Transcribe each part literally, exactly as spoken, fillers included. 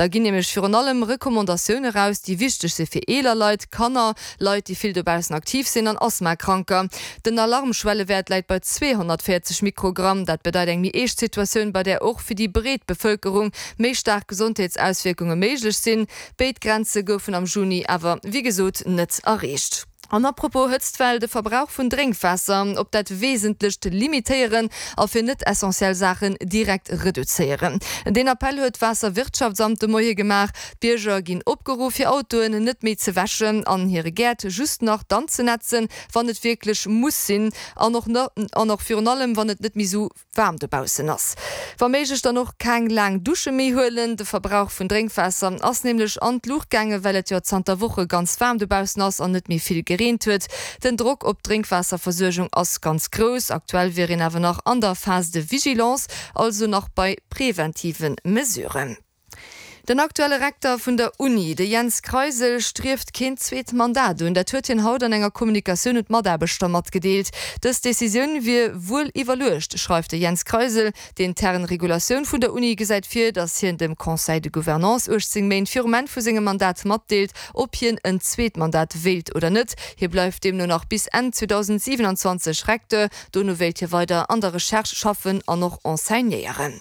Da ginn nämlech virun allem Recommandatioune raus, déi wichteg si fir eeler Leit, Kanner, Leit, déi vill dobaussen aktiv sinn an Asthmakranker. Den Alarmschwellewäert läit bei zweehonnertvéierzeg Mikrogramm. Dat bedeit eng méi eescht Situatioun, bei där och fir déi breet Bevëlkerung méi staark Gesondheetsauswierkunge méiglech sinn. Béid Grenze goufen am Juni awer wéi gesot net erreecht. An apropos Hëtztwell, de Verbrauch vun Drénkwaasser op dat Wesentlecht limitéieren a fir net essentiell Saachen direkt reduzéieren. Deen Appell huet d'Waasserwirtschaftsamt de Moie gemaach. D'Bierger ginn opgeruff, hir Autoen net méi ze wäschen an hire Gäert just nach dann ze nätzen, wann et wierklech muss sinn an och an och virun allem, wann et net méi sou waarm dobaussen ass. Wa méiglech dann och keng laang Dusche méi huelen. De Verbrauch vun Drénkwaasser ass nämlech an d'Luucht gaangen, well et jo zanter Woche ganz waarm dobaussen ass an net méi vill gereent huet. Den Drock op d'Drénkwaasserversuergung ass ganz grouss. Aktuell wier een awer nach an der Phase de vigilance, also nach bei preventive Mesuren. Den aktuelle Rekter vun der Uni, de Jens Kreisel, strieft keen zweet Mandat un. Dat huet hien haut an enger Kommunikatioun un d'Mataarbechter matgedeelt. Dës Decisioun wier wuel iwwerluecht, schreift de Jens Kreisel. D'intern Regulatioun vun der Uni gesäit vir, datt hien dem Conseil de Gouvernance uechtzéng Méint virum Enn vu sengem Mandat matdeelt, ob hien en zweet Mandat wéilt oder net. Hie bleift deemno nach bis Enn zweedausendsiwenanzwanzeg Recteur. Dono wéilt hie weider an der Recherche schaffen an och enseignéieren.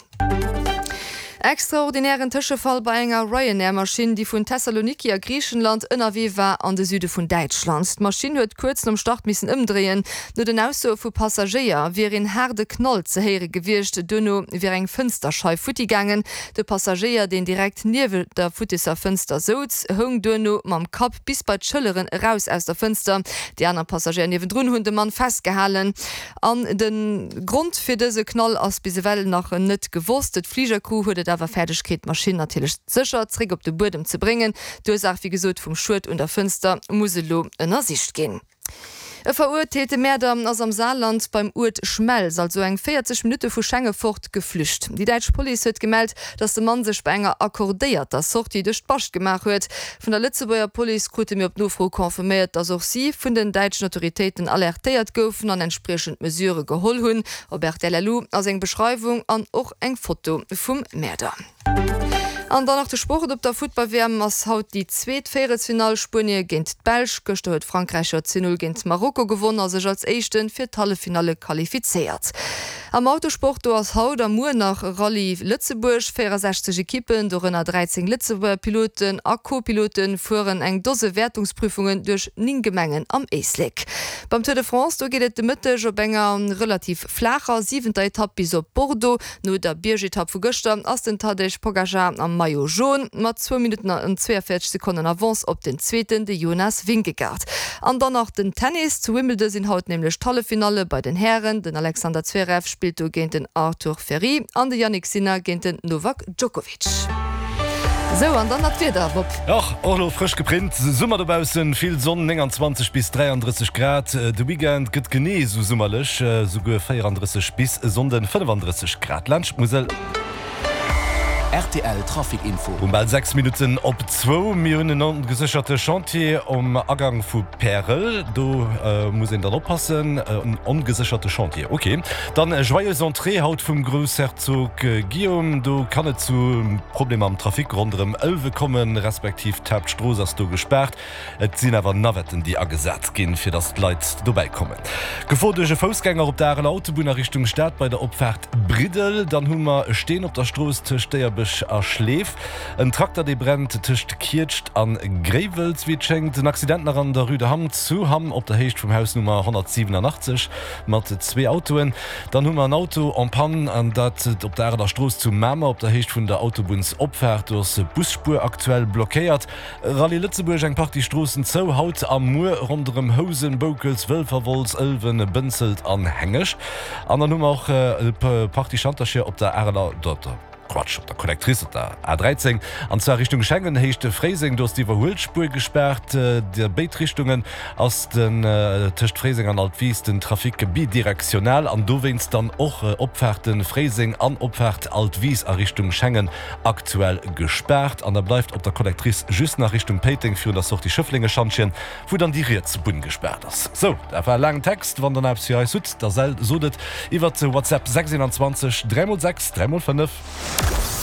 Extraordinären Tëschefall bei enger Ryanair-Maschinn, déi vun Thessaloniki a Griichenland ënnerwee war an de Süde vun Däitschland. D'Maschinn huet kuerz nom Start missen ëmdréien. No den Aussoe vu Passagéier wier een haarde Knall ze héiere gewiescht. Duerno wier eng Fënsterscheif futti gaangen. De Passagéier, deen direkt niewent der futtisser Fënster souz, houng duerno mam Kapp bis bei d'Schëlleren eraus aus der Fënster. Déi aner Passagéier niewendrun hunn de Mann festgehalen. An de Grond fir dëse Knall ass bis ewell nach net gewosst. D'Fligercrew huet et awer fäerdeg kritt, d'Maschinn natierlech sécher zréck op de Buedem ze bréngen. D'Ursaach, wéi gesot, vum Schued un der Fënster muss elo ënnersicht ginn. E verurteelte Mäerder ass am Saarland beim Uert Schmelz, also eng véierzeg Minutte vu Schengen fort, geflücht. Déi däitsch Police huet gemellt, datt de Mann sech bei enger accordéierter Sortie duerch d'Bascht gemaach huet. Vun der Lëtzebuerger Police krute mir op Nofro confirméiert, datt och si vun den däitschen Autoritéiten alertéiert goufen an entspriechend Mesurë geholl hunn. Op rtl Lu ass eng Beschreiwung an och eng Foto vum Mäerder. An dann nach de Sport, Op der Futtball-W M ass haut déi zweet Véierelsfinall, Spuenie géint d'Belsch. Gëschter huet Frankräich jo zwee Null géint Marokko gewonn a sech als Éischte fir d'Halleffinalle qualifizéiert. Am Autosport, do ass haut a muer nach Rallye Lëtzebuerg. véierundsechzeg Ekippen, dorënner dräizéng Lëtzebuerger Piloten a Co-Piloten, fueren eng Dose Wäertungsprüfungen duerch néng Gemengen am Éislek. Beim Tour de France, do geet et de Mëtteg op enger relativ flaacher siwenter Etapp bis op Bordeaux. No der Biergetapp vu gëschter ass den Tadej Pogacar am Maillot Jaune mat zwou Minutten an zweeënvéierzeg Sekonnen Avance op den Zweeten, de Jonas Vingegaard. An dann nach den Tennis, Zu Wimbledon sinn haut nämlech d'Halleffinalle bei den Hären. Den Alexander Zverev spillt do géint den Arthur Fery an de Jannik Sinner géint den Novak Djokovic. Sou, an dann nach d'Wieder, Bob. Och och elo frësch geprint, Summer dobaussen, vill Sonn, nénganzwanzeg bis dräiandrësseg Grad. De Weekend gëtt genee esou summerlech, souguer véierandrësseg bis e Sonnden fënnefandrësseg Grad laanscht d'Musel. Rtl Trafic Info. Um bal sechs Minutten op zwou. Mir hunn en ongesécherte Chantier um Agang vu Pärel. Do muss een dann oppassen. En ongesécherte Chantier, ok. Dann Joyeuse Entrée haut vum Groussherzog Guillaume. Do kann et zu Problemer am Trafic ronderëm Ëlwe kommen, respektiv d'Haaptstrooss ass do gespaart. Et sinn awer Navetten, déi agesat ginn, fir datt d'Leit dobäi kommen. Gefor duerch e Foussgänger op der Areler Autobunn a Richtung Stad bei der Opfaart Briddel. Dann hu mer e Steen op der Strooss tëscht Déierbech a Schleef. En Trakter dee brennt tëscht Kietscht a Gréiwels, wéi et schéngt. En Accident nach an der Rue de Hamm zu Hamm op der Héicht vum Haus Nummer honnertsiwenanachtzeg mat zwee Autoen. Dann hu mer en Auto en panne an dat op der Areler Strooss zu Mamer op der Héicht vun der Autobunnsopfaart. Do ass d'Busspuer aktuell blockéiert. Rallye Lëtzebuerg, Eng Partie Stroossen zou haut a muer ronderëm Housen, Boukels, Wëlfer, Wolz, Ëlwen, Bënzelt an Hengescht. An dann hu mer och e Partie Schantercher op der Areler, Quatsch, op der Collectrice op der A dräizéng, an zwar Richtung Schengen, Héicht Fréiseng. Do ass d'Iwwerhuelspuer gespaart. A béid Richtungen ass den tëscht Fréiseng an Altwis den Trafic bidirektional an dowéinst dann och Opfaarte Fréiseng an Opfaart Altwis a Richtung Schengen aktuell gespaart. An da bleift op der Collectrice just nach Richtung Péiteng virun der Sortie Schëfflenge-Schantjen, wou dann déi riets Bunn gespaart ass. Sou, dat war e laangen Text. Wann der nach eppes fir eis hutt, da sot et iwwert WhatsApp sechs eenanzwanzeg dräi mol sechs dräi mol fënnef.